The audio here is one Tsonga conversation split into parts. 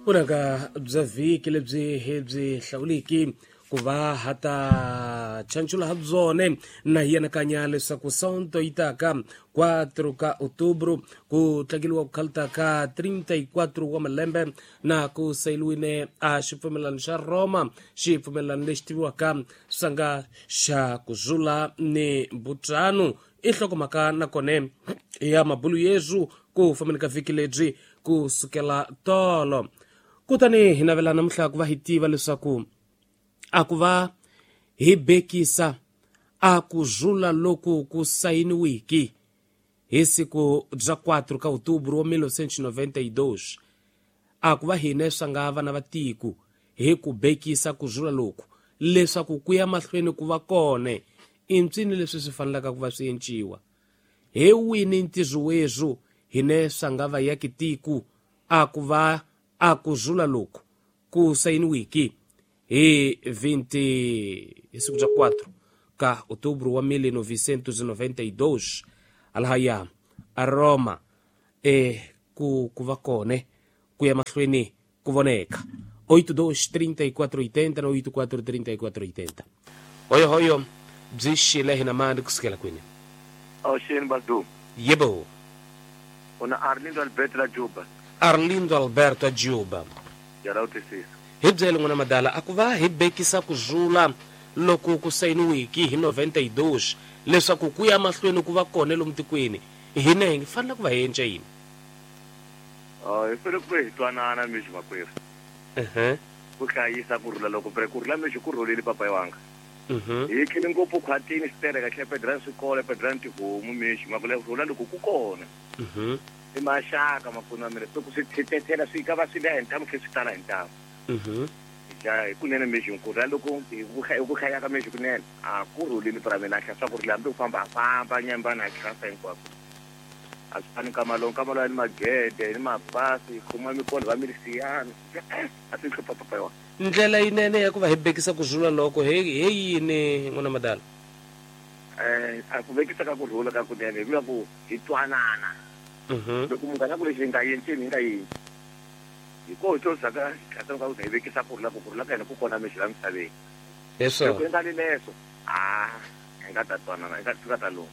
Vunanga bya vhiki lebyi hi byi hlawuliki ku va ha ta chanchula ha byone na hi anakanya leswaku sonto yi taka 4 ka outubro ku tlangeliwa ku khalta ka 34 wa malembe na ku sayiliwile a xipfumelano xa Roma, xipfumelano lexi tiviwaka sanga xa ku zula ni Butano. I nhlokomhaka nakone ya mabulu yezu ku fambeni ka vhiki lebyi ku sukela tolo. Kutani hi navela namuntlha ku va hi tiva leswaku a ku va hi bekisa a ku zula loku ku sayiniwiki hi siku bya 4 ka outubro wa 1992, a ku va hine swa nga vana va tiko hi ku bekisa ku zula loku leswaku ku ya mahlweni ku va kone i mpsini leswi swi fanelaka ku va swi enciwa hi wini ntirho wezwu hine swa nga va yaki tiko a ku va a ku zula loku ku sayiniwiki hi 20 hi siku bya 4 ka outubro wa 1992 alahaya a Roma e ku va kone ku ya mahlweni ku voneka 82 34 80 na 84 34 80. Hoyo hoyo byi xile hina mani kusukela kwini? Awuxeni Badu. Yebo. Una Arlindo Alberto la Juba. Arlindo Alberto a Juba. Yala u twisisa. Hi byele n'wana madala a ku va hi bekisa ku zula loko ku sayiniwiki hi 92 leswaku ku ya mahlweni ku va kona lomu tikweni hina hi fanele ku va hi endla yini? Hi fanele ku va hi twanana mixi makwerhu. Ku hlayisa ku rhula loko ku rhula mixi ku rhulile papa wanga. Hi tlhele ngopfu khwatini xitereka tlhe pedrani swikolo pedrani tihomu mixi makule rhula loko ku kona. I maxaka makuna mina se ku swi thetethela swi ka va swi le hi ntamu tlhe swi tala hi ntamu. Ja hi kunene mixi ku rhula loko hi ku hlaya ka mixi kunene a ku rhulile pra mina tlhe swa ku rhula hambi u famba a famba nyambana a tlhasa hinkwako. A swi fani nkama lowu nkama lowu ni magede ni mapasi khoma mikolo va milisiyana a swi hlupha papa yona. Ndlela yinene ya ku va hi bekisa ku zula loko he yini n'wana madala? A ku vekisa ka ku rhula ka kunene hi vula ku hi twanana. Loko munghana ku lexi hi nga yenceni hi nga yenci. Hi koho to zaka tlhasa ka ku hi vekisa ku rhula ku rhula ka hina ku kona mixi la misaveni. Leswo. Loko hi nga li leswo, hi nga ta twanana, hi nga fika ta loko.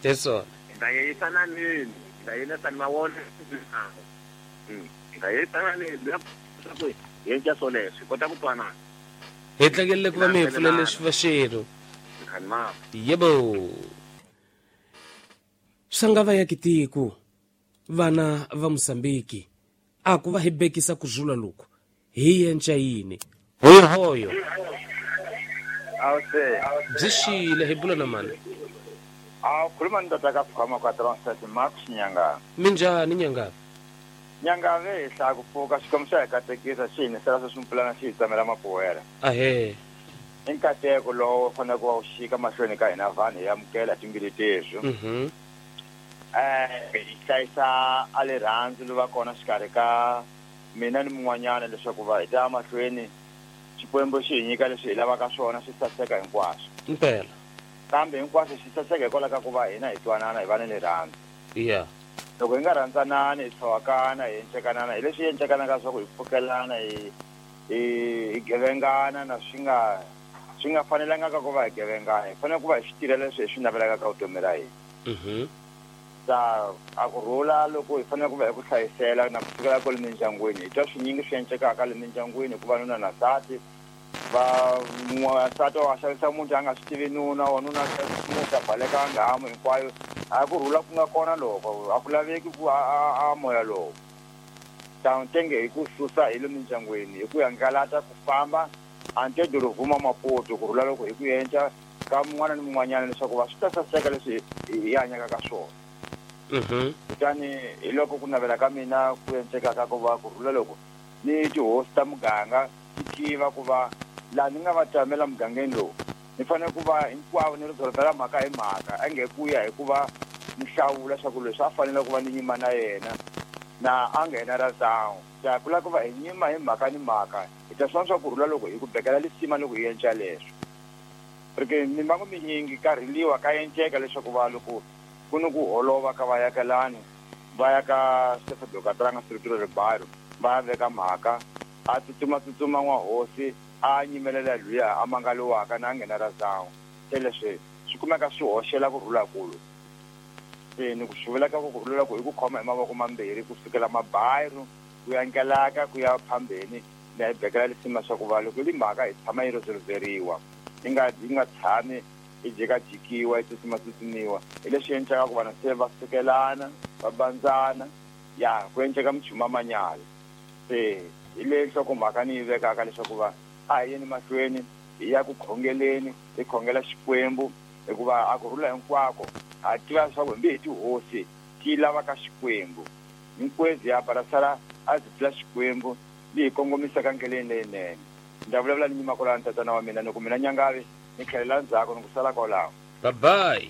Leswo. Hi nga yeyisana nini, hi nga yelisana mavona. Hi nga yeyisana nini, leswaku hi endla swoleswo, hi kota ku twanana. Hi tlangelele ku va mi hi pfulele xifaxelo. Yebo. Swa nga va ya kitiko vana va Mosambiki a ku va hi bekisa ku zula loku hi yenca yini? Hoyo hoyo. Byi xile hi bula na mani? A khuluma ni tata ka phama kwa Transnet Max Nyanga. Minjhani Nyanga? Nyanga ve hi hlaya ku pfuka xikwembu xa hi katekisa xi hi nisela sweswi mpulana xi hi tsamela mapuwela. Ahee. I nkateko lowu fanele ku va wu xika mahlweni ka hina vanhu hi amukela timbili teswi. Hi hlayisa a rirhandzu lo va kona xikarhi ka mina ni mun'wanyana leswaku va hi ta mahlweni Xikwembu xi hi nyika leswi hi lavaka swona swi saseka hinkwaswo. Mpela. Kambe hinkwaswo xi saseka hikwalaho ka ku va hina hi twanana hi va ni rirhandzu. Yeah. Loko hi nga rhandzanani hi tlhowakana hi encekanana hi leswi encekanaka swa ku hi pfukelana hi hi gevengana na swi nga fanelanga ka ku va hi gevengana. Hi fanele ku va hi swi tirhela leswi hi swi navelaka ka vutomi ra hina. Ta a ku rhula loko hi fanele ku va hi ku hlayisela na ku sukela kwale mindyangwini. Hi twa swinyingi swi encekaka le mindyangwini hikuva nuna na nsati va nsati wa xavisa muti a nga swi tivi nuna wa nuna muti a baleka nghamu hinkwayo. A ku rhula ku nga kona loko a ku laveki ku a moya lowu. Ta ntenge hi ku susa hi le mindyangwini hi ku hangalata ku famba a nte dorobuma Maputo ku rhula loko hi ku endla ka mun'wana ni mun'wanyana leswaku va swi ta saseka leswi hi hanyaka ka swona. Kutani hi loko ku navela ka mina ku encekaka ku va ku rhula loko ni tihosi ta muganga ti tiva ku va laha ni nga va tamela mugangeni lowu ni fanele ku va hinkwavo ni ri byela mhaka hi mhaka a nge ku ya hikuva ni hlawula leswaku leswi a fanele ku va ni nyima na yena na a nghena ra tawu. Ta ku lava ku va hi nyima hi mhaka ni mhaka hi ta swi vona swa ku rhula loko hi ku bekela lisima loko hi endla leswo. Porque mimbangu minyingi ka rhiliwa ka enceka leswaku va loko ku ni ku holova ka vayakelani Va ya ka Stefano Katranga Structura Ribairo va ya veka mhaka a tsutsuma tsutsuma n'wahosi a nyimelela luya a mangaliwaka na nghena ra zawu se leswi swi kumeka swi hoxela ku rhula kulu. Se ni ku swi vulaka ku rhula ku i ku khoma hi mavoko mambirhi ku sukela mabayiro ku ya nkelaka ku ya phambeni na hi bekela lisima swa ku va loko li mhaka hi tshama yi resolveriwa yi nga yi nga tshami yi jikajikiwa yi tsutsuma-tsutsumiwa. Hi leswi endlaka ku vanhu se va sukelana va bandzana ya ku endleka minchumu ya manyala. Se hi leyi nhlokomhaka ni yi vekaka leswaku va a hi yeni mahlweni hi ya ku khongeleni hi khongela Xikwembu hikuva a ku rhula hinkwako ha tiva leswaku hambi hi tihosi ti lava ka Xikwembu. Hinkwezi ya barasala a byi pfula Xikwembu li hi kongomisaka ndleleni leyinene. Ni ta vulavula ni nyima kwalano tatana wa mina ni ku mina Nyangavi ni tlhelela ndzhaku ni ku sala kwalaho. Bye bye.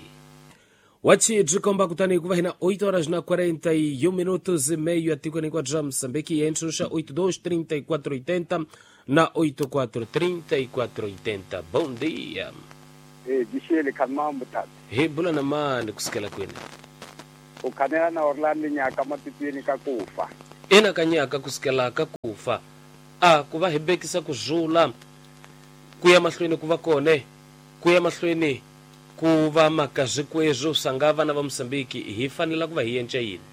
Wachi byi komba kutani ku va hina 8 horas na 41 minutos e meio atikweni hinkwabyo bya Mozambique hi entshunxa 82 34 80 na 84 34 80. Bom dia. Eh, Dixele khanimambu tata. Hi bula na mani kusukela kwini? U khanela na Orlando Nyaka matitweni ka kufa. Ina ka Nyaka kusukela ka kufa. A ku va hi bekisa ku zula ku ya mahlweni ku va kone ku ya mahlweni ku va maka zwikwezwo sanga vana va Mozambique hi fanela ku va hi yenca yini?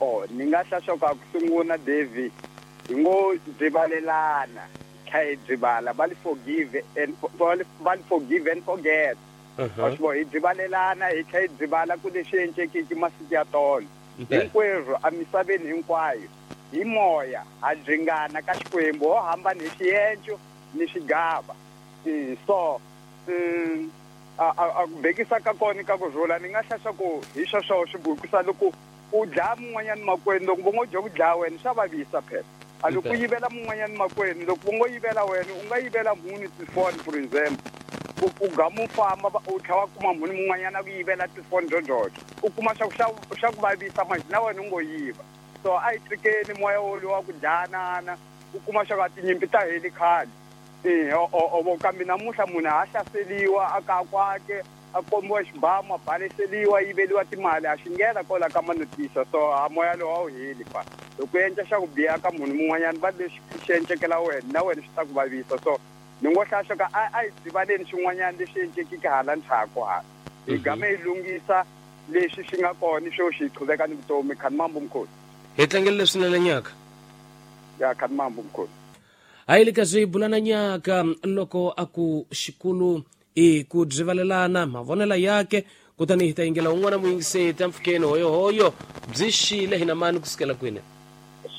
Oh, ni nga hla swa ku a ku sunguna Davy hi ngo byivalelana tlha hi byivala va li forgive and va li forgive and forget. Wa swi vona hi byivalelana hi tlha hi byivala ku leswi encekiki masiku ya tolo. Hinkwerhu emisaveni hinkwayo hi moya ha byingana ka Xikwembu ho hambana hi xienco ni xigava. So a a ku bekisa ka kona ka ku rhula ni nga hla swa ku hi sweswo swi bukisa loko u dlaya mun'wanyana makwenu loko vo ngo dya ku dlaya wena swa vavisa phela. A loko u yivela mun'wanyana makwenu loko vo ngo yivela wena u nga yivela mhuni tifoni for example u u gama u famba u tlhela wa kuma mhuni mun'wanyana a ku yivela tifoni dyodyodo u kuma swa ku swa swa ku vavisa manje na wena u ngo yiva. So a hi tshikeni moya wolowo wa ku dlayanana u kuma swa ku a tinyimpi ta heli khale. O kambe namuntlha munhu ha hlaseliwa a kaya kwake a kombiwa xibamu a baleseliwa a yiveliwa timali a xi nghena kwala ka manotisa so a moya lowu a wu heli fa. Loko u endla xa ku biha ka munhu mun'wanyana va lexi xi encekela wena na wena swi ta ku vavisa so ni ngo hlaya swa ka a a hi byivaleni swin'wanyana leswi encekiki hala ndzhaku hala hi game hi lunghisa leswi swi nga kona sweswi hi qhuveka ni vutomi. Khanimambu mkhulu. Hi tlangele leswinene Nyaka. Ya Khanimambu mkhulu. A yi le ka swi bulana Nyaka loko a ku xikulu i ku byivalelana mavonela yake kutani hi ta yingela un'wana muyingiseti empfhukeni hoyohoyo byi xile hina mani ku sukela kwini?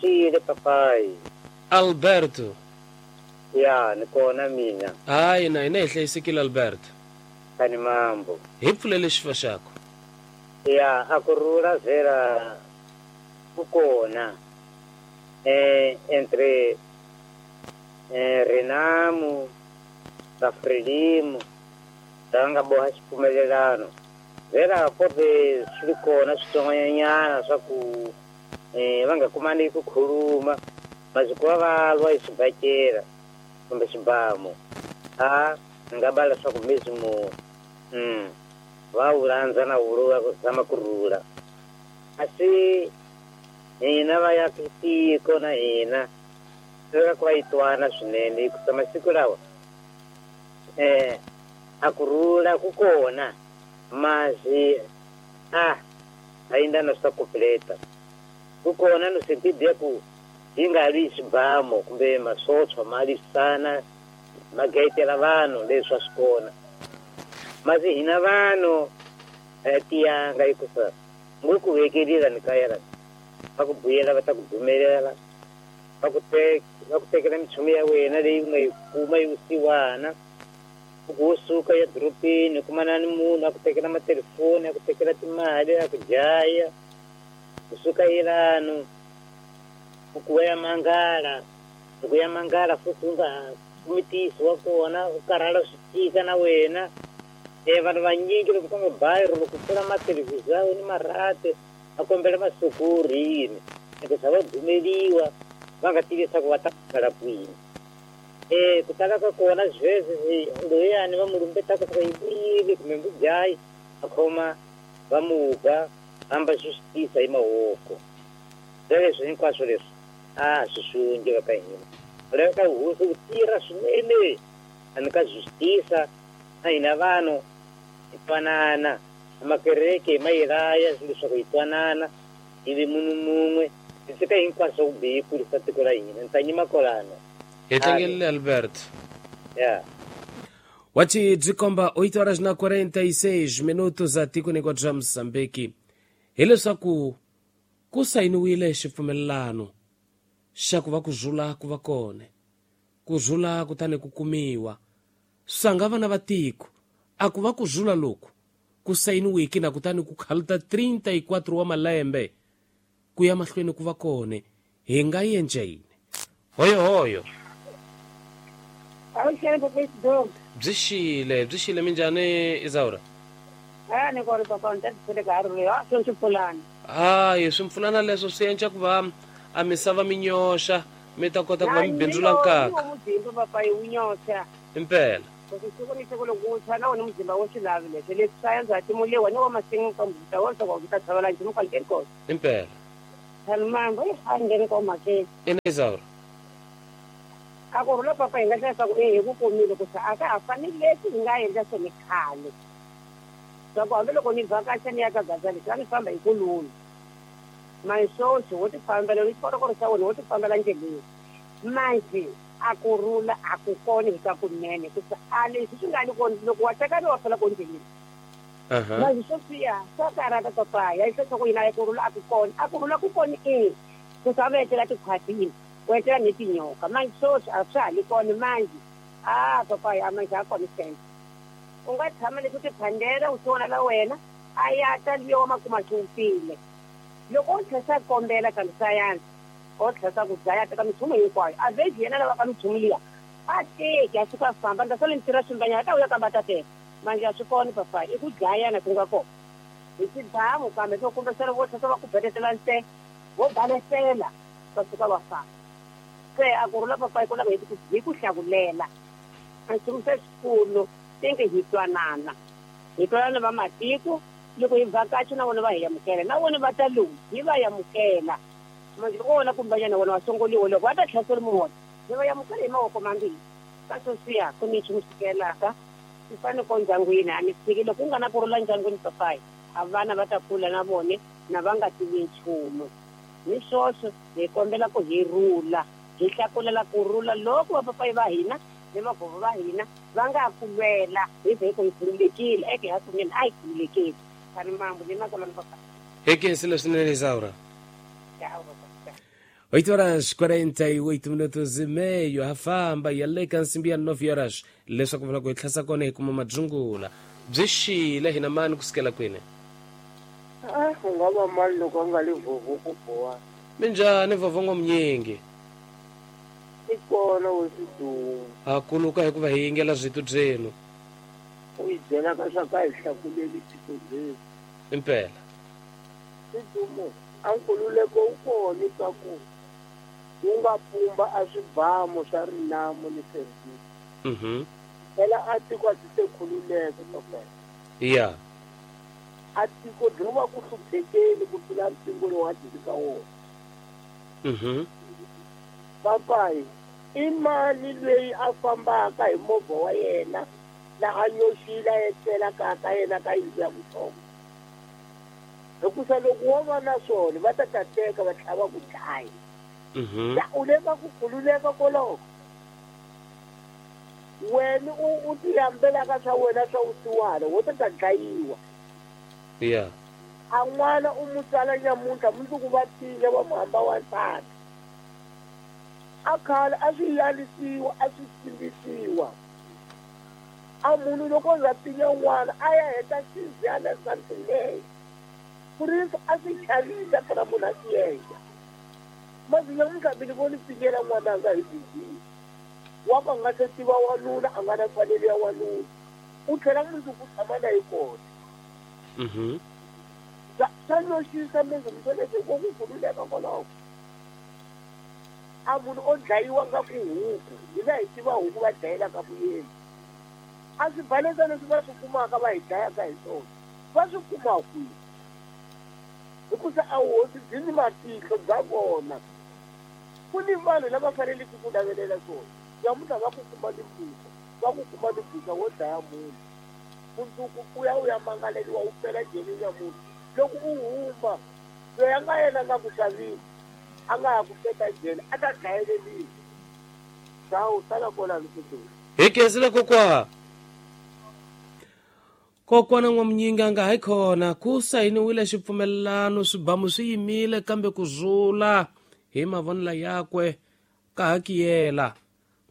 Xile papayi. Alberto. Ya ni kona mina. Hayi na hina hi hlayisekile Alberto. Khanimambu. Hi pfulele xifa xakho. Ya a ku rhula vhela ku kona entre Renamo na Frelimo lava nga boha xipfumelelano. Vhela ko ve swi ri kona switsongwanyanyana swa ku va nga kumani ku khuluma masiku va va lwa hi xibakela kumbe xibamu a ni nga bala swa ku mezimo va wu landza na wulu va zama ku rhula. Kasi hina va ya tiko na hina swi lava ku va yi twana swinene hikusa masiku lawa a ku rhula ku kona mazi a a yinda na swa completa ku kona no sentidi ya ku yi nga lwi xibamu kumbe masochwa ma lwisana ma gayitela vanhu leswi a swi kona mazi hina vanhu a ya tiyanga hikusa ngo ku vekelila ni kaya la va ku buyela va ta ku dumelela va ku va ku tekela minchumu ya wena leyi u nga yi kuma yi vusiwana u ku wo suka ya doropeni u kumana ni munhu a ku tekela matelefoni a ku tekela timali a ku dlaya u suka yelano u ku wa ya mangala loko ya mangala futhi u nga kumi ntiyiso wa kona u karhala swi tika na wena. Vanhu vanyingi loko ka mabayiro loko pfula mathelevhizhawu ni marhati va kombela masukuru yini hikusa va dumeliwa va nga tivi leswaku va ta kala kwini. Ku tala ka kona sweswi loyani va mu lumbetaka swa yi vuyile kumbe mbudyayi a khoma va mu ba Hamba justiça hi mavoko. Leswi hinkwaswo leswi a swi xunge va ka hina. Laveka hosi ku tirha swinene a ka justiça na hina vanhu hi twanana. Makereke ma yi laya leswaku hi twanana hi vi munhu mun'we hi tshika hinkwaswo ku bihi kurisa tiko ra hina. Ni ta nyima kwalano. Hi tlangelile Albert. Yeah. Wachi byi komba 8 horas na 46 minutos a tikweni hinkwabyo bya Mozambique. Hileswaku ku sayiniwile xipfumelelano xa ku va ku rhula ku va kona. Ku rhula kutani ku kumiwa. Swanga vana va tiko a ku va ku rhula loku ku sayiniwiki na kutani ku khaluta 34 wa malembe ku ya mahlweni ku va kona hi nga endla yini? Hoyo hoyo. Byi xile minjhani Isaura? Ni kona papa ni ta tshele ka ri ha swi mpfulana. Hayi swi mpfulana leswo swi endla ku va a misava mi nyoxa mi ta kota ku va mi bindzula nkaka. Muzimba papa yi wu nyoxa. Impela. Siku ni siku loko wu tshwa na wona muzimba wo swi lavi leswi leswi sayense a timuliwa ni wa masin'wini ka muzimba wo swa ku ta tshovela nchumu kwale ke kona. Impela. Thanimambo i ngheni ko mhakeni. Ina Isaura. A ku rhula papa hi nga hlayisa ku hi ku kumile ku sa a ka ha fanele leswi hi nga endla swona khale. Swa ku hambiloko ni vhakacha ni ya ka gaza leswi a ni famba hi kulula. Manxoxo wo ti fambela ni xikorokoro xa wena wo ti fambela ndleleni. Manje a ku rhula a ku kona hi ka kunene ku sa a leswi swi nga ni kona loko wa tekana wa fela ko ndleleni. Manje swo swiya swa karhata papa ya swa ku yina ku rhula a ku kona a ku rhula ku kona i ku sa va etlela tikhwatini ku etlela ni tinyoka manje sweswi a swa ha li kona manje a papa ya manje a kona sense. U nga tshama leswi tiphandela u swi la wena a ya ta liya wa makuma xi wupfile. Loko u tlhela kombela ka sayansi o tlhela ku dlaya teka minchumu hinkwayo a veji yena lava ka minchumu liya a teki a suka famba ni ta sala ni tirha swimbanyana ta vuya kamba ta teka manje a swi kona papa i ku dlayana ku nga kona hi xibamu kambe swo kumbexana vo tlhela va ku betetela nse vo balesela va suka va famba. Se a ku rhula papa hi ku lava hi ku hlakulela a nchumu se xikulu tinge hi twanana hi twanana va matiko loko hi vhakacha na vona va hi amukela na vona va ta lowu hi va amukela. Manje loko wona kumbanyana wona wa songoliwa loko va ta tlhasela munhu hi va amukela hi mavoko mambirhi. Ka sweswiya ku ni nchumu xikelaka swi fanele ko ndyangwini a ni tshiki loko ku nga na ku rhula ndyangwini papayi a vana va ta kula na vone na va nga tivi nchumu. Ni swoswo hi kombela ku hi rhula hi hlakulela ku rhula loko vapapayi va hina ni vagogo va hina va nga ku lwela hi ze hi ku hi khululekile eke hakunene a hi khululekile. Thanimambo ni makolani papa. Hi khensile swinene Isaura. 8 horas 48 minutos e meio ha famba ya le ka nsimbi ya 9 horas leswaku vula ku hi tlhasa kona hi kuma madzungula byi xile hina mani kusukela kwini? U nga va mali loko a nga le vovo ku boha. Minjhani vovo ngomnyingi? I kona we swidumo. Ha kuluka hikuva hi yingela switu byenu. U hi byela ka swa ka hi hlakuleli tiko byenu. Impela. Swidumo a nkululeko wu kona ka ku wu nga pumba a swibamu swa rinamo ni service. Phela a tiko a ti se khululeka papa. Yeah. A tiko byi va ku hluphekeni ku tlula mpingo lowu a byi ka wona. Papayi i mali leyi a fambaka hi movha wa yena laha nyoxile a etlela ka yena ka yindlu ya vutsongo. Hikusa loko wo va na swona va ta teka va tlhela va ku dlaya. U le ka ku khululeka koloko. Wena u tiyambelaka swa wena swa vusiwana wo ta dlayiwa. Yeah. A n'wana u mu tsala nyamuntlha mundzuku va tile va mu hamba wansati. A khale a swi yalisiwa a swi tsimbisiwa. A munhu loko za pinya n'wana a ya heta xindziyana something leyi. Purisi a swi chavisa phela munhu a swi endla. Manje nyamuntlha mi ni voni pinyela n'wananga hi bizi. Wa ku a nga se tiva wanuna a nga na mfanelo ya wanuna. U tlhela mundzuku tshama na hi kona. Swa nyoxisa mizimsweleswo ku ku khululeka koloko. A munhu o dlayiwa nga ku huku hina hi tiva huku va dlayelaka vuyeni. A swi balesa leswi va swi kumaka va hi dlayaka hi swona va swi kuma kwihi? Hikusa a hosi byi ni matihlo bya vona. Ku ni vanhu lava faneleke ku navelela swona. Namuntlha va ku kuma ni mpfuka, va ku kuma ni mpfuka wo dlaya munhu. Mundzuku u ya u ya mangaleriwa u fela jele nyamuntlha. Loko u huma, loyi a nga yena a nga ku xavisa, a nga ha ku peta jele, a ta dlayeleriwa. Sawu, sala kwalano sweswi. Hi khensile kokwa. Kokwana N'wamunyinga nga hayi khona ku sayiniwile xipfumelelano swibamu swi yimile kambe ku zula hi mavonelo yakwe ka ha kiyela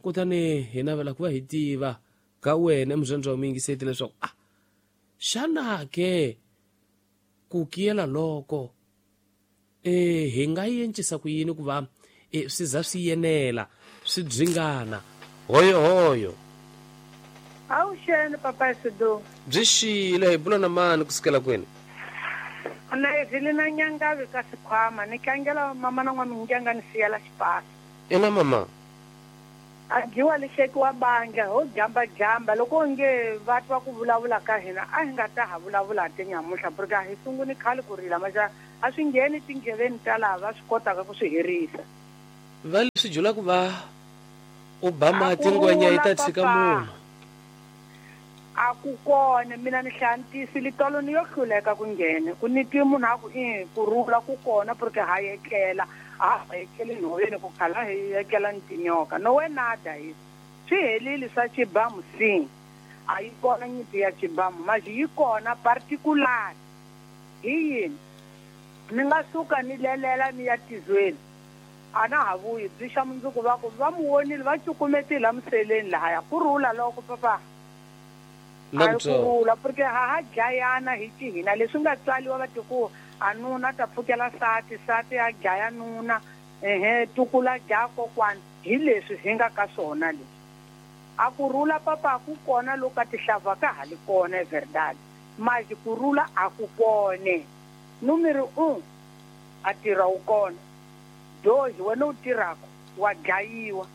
kutani hi navela ku va hi tiva ka wena muzwandzi wa muyingiseti leswaku a xana ke ku kiyela loko e hi nga yencisa ku yini ku va e swi za swi yenela swi byingana hoyohoyo. Avuxeni papa Sidu. Byi xile hi bula na mani kusukela kwini? Na Evelina na Nyangavi ka Sikhwama ni tlangela mama na n'wamingenga ni siyela xipasi. Ina mama. A dyiwa lixeki wa bandla ho jamba jamba loko onge va twa ku vulavula ka hina a hi nga ta ha vulavula te nyamuntlha porque a hi sunguni khale ku rila maxa a swi ngheni tindleveni ta laha va swi kotaka ku swi herisa. Va leswi jula ku va u ba mati ngwenya yi ta tshika munhu. A ku kona mina ni hlaya ntisi litolo ni yo hluleka ku nghena ku ni twi munhu a ku i ku rhula ku kona porque ha etlela a ha etleli nhoveni ku khala hi etlela ni tinyoka no we nada hi swi helile swa xibamu si a yi kona nyimpi ya xibamu maji yi kona particular hi yini ni nga suka ni lelela ni ya tizweni a na ha vuyi byi xa mundzuku va ku va mu vonile va cukumetile la museleni lahaya ku rhula loko papa Na a ku ku rhula porque ha ha dlayana hi xihina leswi nga tswaliwa va ti ku a nuna ta pfukela sati sati a dlaya nuna ehe tukula dlaya kokwana hi leswi hi nga ka swona leswi a ku rhula papa ku kona loko ka tihlava ka ha li kona verdad maji ku rhula a ku kone numeri 1 a tirha wu kona dozi wena u tirhaka wa dlayiwa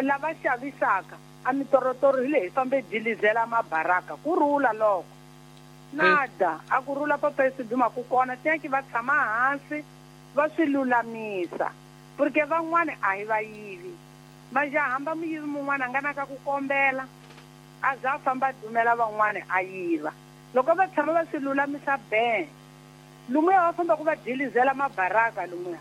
lava xavisaka a mitorotoro hi le hi fambe dilizela mabaraka ku rhula loko nada a ku rhula papa esiduma ku kona teki va tshama hansi va swi lulamisa porque van'wani a hi vayivi maja hamba muyivi mun'wana a nga na ka ku kombela a za a famba a dumela van'wani a yiva loko va tshama va swi lulamisa be lumuya va famba ku va dilizela mabaraka lumuya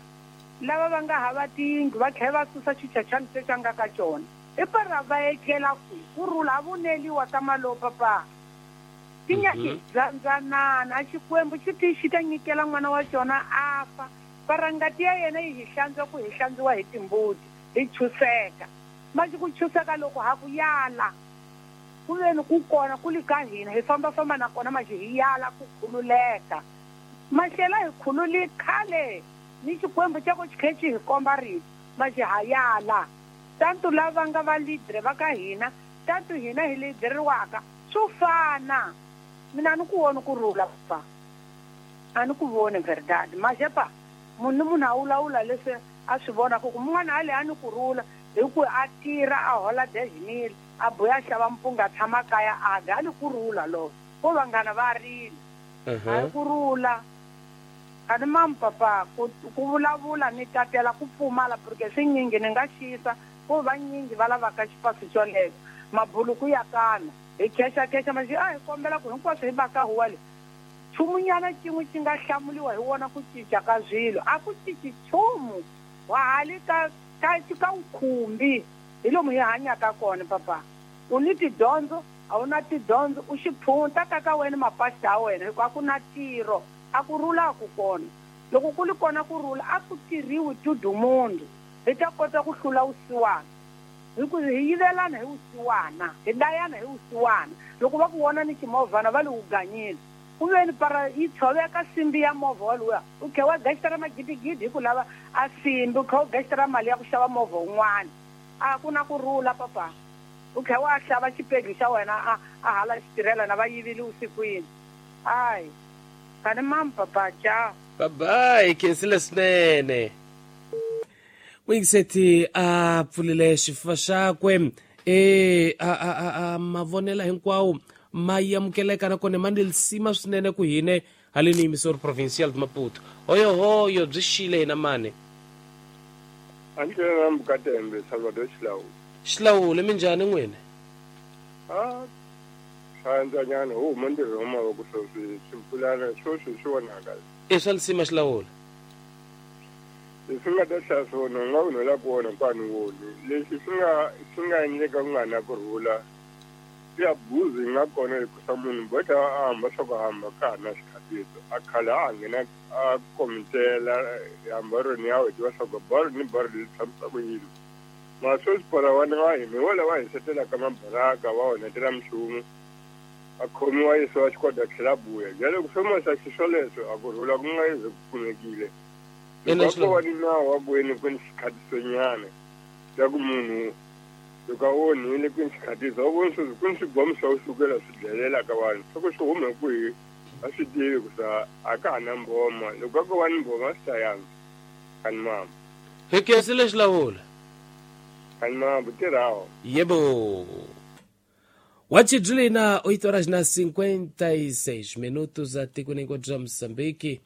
lava va nga hava tiyindlu va tlhela va susa xichachani se xa nga ka xona i para va etlela kwihi ku rhula a vuneliwa ka malo papa tinyaki dzandzanana a xikwembu xi ti xi ta nyikela n'wana wa xona a fa para ngati ya yena yi hi hlantswa ku hi hlantswiwa hi timbuti hi chuseka maji ku chuseka loko ha ku yala ku veni ku kona ku li ka hina hi fambafamba na kona maji hi yala ku khululeka maxela hi khululi khale ni xikwembu xa ku xi khe xi hi komba rito maji ha yala tantu lava nga va lidere va ka hina tantu hina hi lideriwaka swo fana mina a ni ku voni ku rhula papa a ni ku voni verdad maje pa munhu ni munhu a wulawula leswi a swi vonaka ku mun'wana a le a ni ku rhula hi ku a tirha a hola dejimile a buya a xava mpunga a tshama kaya a dya a ni ku rhula loko ko vanghana va rila a hi ku rhula a ni mamu papa ku vulavula ni tatela ku pfumala porque swinyingi ni nga xisa ko vanyingi va lavaka xipasi xolexo mabuluku ya kana hi khexa maxi a hi kombela ku hinkwaswo hi baka huwa le nchumunyana xin'we xi nga hlamuliwa hi wona ku cinca ka swilo a ku cinci nchumu wa hali ka ka wukhumbi hi lomu hi hanyaka kona papa u ni tidyondzo a wu na tidyondzo u xiphunta ka ka wena mapasta ya wena hikuva a ku na ntirho a ku rhula a ku kona loko ku li kona ku rhula a ku tirhiwi tudumundu hi ta kota ku hlula wusiwana hi ku hi yivelana hi wusiwana hi dlayana hi wusiwana loko va ku vona ni ximovhana va li wu ganyile ku veni para yi tshoveka simbi ya movha waluya u khe wa gexitara magidigidi hi ku lava a simbi u khe u gexitara mali ya ku xava movha wun'wana a ku na ku rhula papa u khe wa xava xipegi xa wena a hala xitirhela na va yivile usikwini ai kani mamu papa ciao bye bye khensile swinene muyingiseti a pfulile xifuva xakwe a mavonela hinkwawo ma yamukeleka nakona ma ni lisima swinene ku hine Haleni emissora provincial de Maputo. Hoyohoyo byi xile hina mani. Andlela Mbukatembe Salvador Xilawule. Xilawule minjhani n'wina? A swandzanyana hu huma ntirho wa mavoko sweswi swimpfulana sweswi swi vonaka. I swa lisima Xilawule. Leswi nga ta hlaya swona u nga onhela ku wona kwani woni. Leswi swi nga swi nga endleka ku nga na kurhula ya buzi yi nga kona hikusa munhu boheka a hamba swa ku hamba ka ha na xikhatiso. A khale a ha nghena a komitela hamba ro ni ya hi tiva swa ku baro ni baro leri tshamisa ku yini. Mara sweswi porawana wa hina hi wona wa hisetelaka mabaraka wa onhetela minchumu a khomiwa yisiwa xikwadi a tlhela a buya. Jwale ku swo xiswoleswo a ku rhula ku nga ze ku kumekile. Loko a ko va ni nawu wa ku yini ku ni xikhatisonyana xa ku munhu loko a onhile ku ni xikhatiso wa vona sweswi ku ni swibomu swa ku sukela swi dlayelaka vanhu swa ku swi hume kwihi a swi tivi ku sa a ka ha na mboma loko a ko va ni mboma a swi ta yantswa kani mama. Hi khensile Xilawula. Kani mama butirhawo. Yebo. Wachidlina 8 horas na 56 minutos atikweni hinkwabyo bya Mozambique.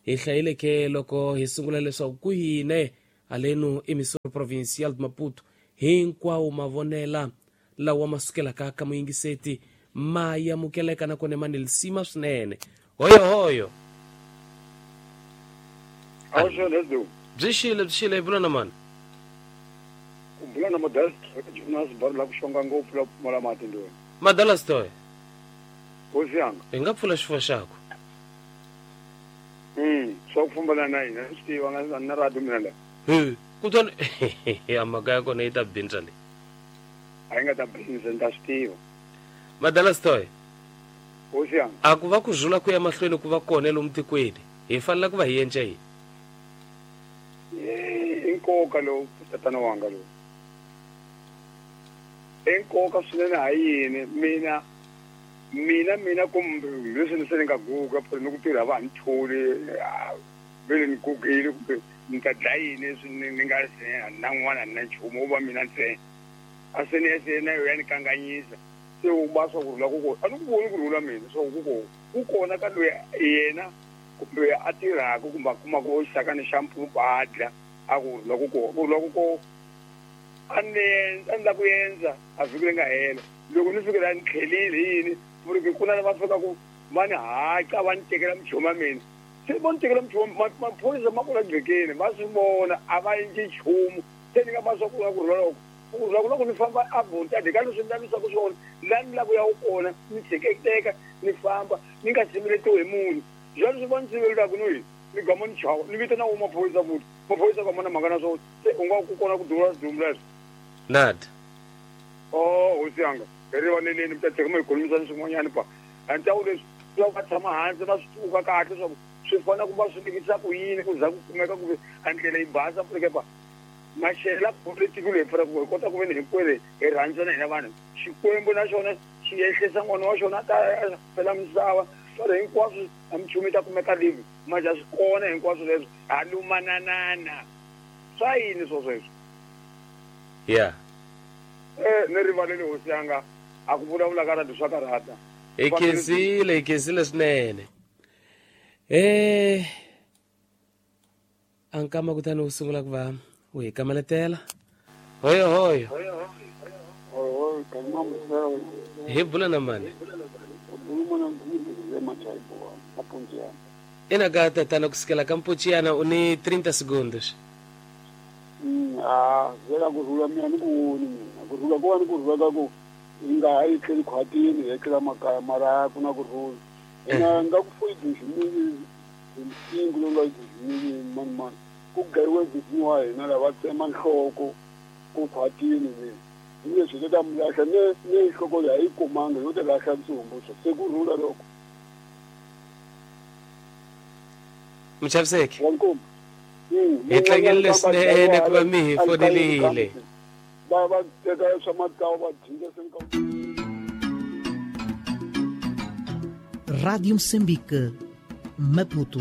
Hi hlayile ke loko hi sungula leswaku ku yine halenu emissora provincial de Maputo hinkwawo mavonela lawa ma sukelaka ka muyingiseti ma yamukeleka nakona ma ni lisima swinene. Hoyohoyo. Byi xile byi xile hi bula na mani? Ku bula na Madala Jonas Baro la ku xonga ngopfu la pfumala mati ndweni. Madala Stoy. Hosi yanga. Hi nga pfula xifuva xakho. Swa ku fumbana na hina swi tiva nga na radio mina la. He, kutani a mhaka ya kona yi ta bindza leyi. A yi nga ta bindza ni ta swi tiva. Madala Stoy. Hosi yanga. A ku va ku rhula ku ya mahlweni ku va kona lomu tikweni, hi fanele ku va hi endla yini? I nkoka lowu tatana wanga lowu. I nkoka swinene ha yini mina mina mina kumbe leswi ni se ni nga guga phela ni ku tirha va ha ni tholi vele ni gugile kumbe ni ta dlaya yini leswi ni nga se a ni na n'wana a ni na nchumu wo va mina ntsena a se ni se na yo ya ni kanganyisa se u ba swa ku rhula ku kona a ni ku voni ku rhula mina swa ku kona ku kona ka loyi yena kumbe a tirhaka kumbe a kumaka xisakana xa mpfumbu a dla a ku rhula ku kona ku rhula ku kona a ni a ni la ku endza a vhiki leri nga hela loko ni fike la ni tlhelile hi yini ku ri ku na lava fikaku va ni haca va ni tekela minchumu ya mina se vo ni tekela minchumu maphorisa ma kula gqekeni va swi vona a va endli nchumu se ni nga va swa ku ku rhula loko ku rhula ku loko ni famba a vontadi ka leswi ni lavisaka swona la ni lava ku ya kona ni tshiketeka ni famba ni nga siveletiwi hi munhu jwale swi va ni sivelelaka no yini ni gama ni chava ni vitana wo maphorisa futhi maphorisa ka mana mhaka na swona se u nga ku kona ku duvula swidumbu leswo nad oh hosi yanga hi rivaleleni mi ta tlheka mi hi khulumisana swin'wanyana pa a ni tawu leswi swa va tshama hansi va swi tsuka kahle swa ku swi fanele ku va swi lekisa ku yini ku za ku kumeka ku ve a ndlela yi basa puleke pa maxela politiki leyi pfuna ku hi kota ku ve ni hinkwenu hi rhandzana hina vanhu xikwembu na xona xi ehlisa n'wana wa xona ta fela misava swale hinkwaswo a minchumu yi ta kumeka live manje a swi kona hinkwaswo leswo ha lumananana swa yini swo sweswo ya ni rivalele hosi yanga a ku vulavula ka radio swa karhata hi khensile hi khensile swinene a nkama kutani wu sungula ku va wu hi kamaletela hoyo hoyo hi bula na mani ina ka tatana kusukela ka mpuchiyana u ni 30 segundos. A vela ku rhula mina ni ku voni mina ku rhula ku va ni ku rhula ka ku hi nga ha etleli khwatini hi etlela makaya mara ku na ku rhula ina nga ku foyi 2005 lowu nga 2000 mani mani ku gayiwe bibini wa hina lava tsema nhloko ku khwatini le ni leswi hi ta mi lahla ne ne nhloko leyi a yi kumanga yo ta lahla ntsumbu swo se ku rhula loko Muchaviseki hi tlangerile swinene ku va mi hi fonelile va va teka swa matsawu va dzinda se nka Rádio Moçambique, Maputo.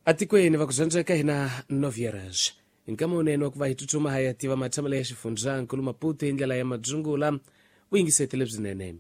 Atikweni va ku dyondzeka hina novierage nkama wunene wa ku va hi tsutsuma hi ya tiva matshamelo ya xifundzankulu Maputo hi ndlela ya madzungula vuyingiseti lebyinene.